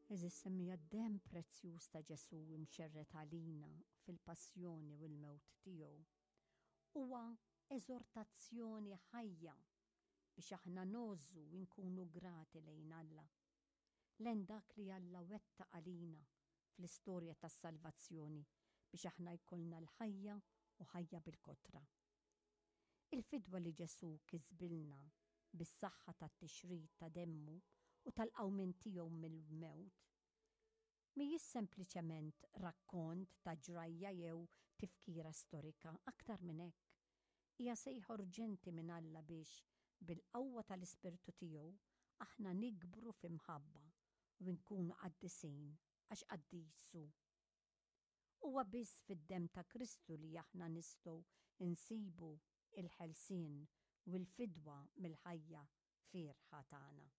Għeżież semmiegħa, d-demm prezzjuż ta' Ġesù imxerred għalina fil-passjoni u l-mewt tiegħu huwa eżortazzjoni ħajja biex aħna ngħożżu u nkunu grati lejn Alla, lejn dak li Alla wettaq għalina fl-istorja tas-salvazzjoni biex aħna jkollna l-ħajja u ħajja bil-kotra. Il-fidwa li Ġesù kisbilna bis-saħħa tat-tixrid ta' demmu u tal-qawmien tiegħu mill-mewt mhijiex sempliċement rakkont ta' ġrajja jew tifkira storika, aktar minn hekk, hija sejħa urġenti minn Alla biex, bil-qawwa tal-Ispirtu tiegħu, aħna nikbru fi mħabba u nkunu qaddisin għax qaddis hu. Huwa biss fid-demm ta' Kristu li aħna nistgħu nsibu l-ħelsien u l-fidwa mill-ħajja fierħa tagħna.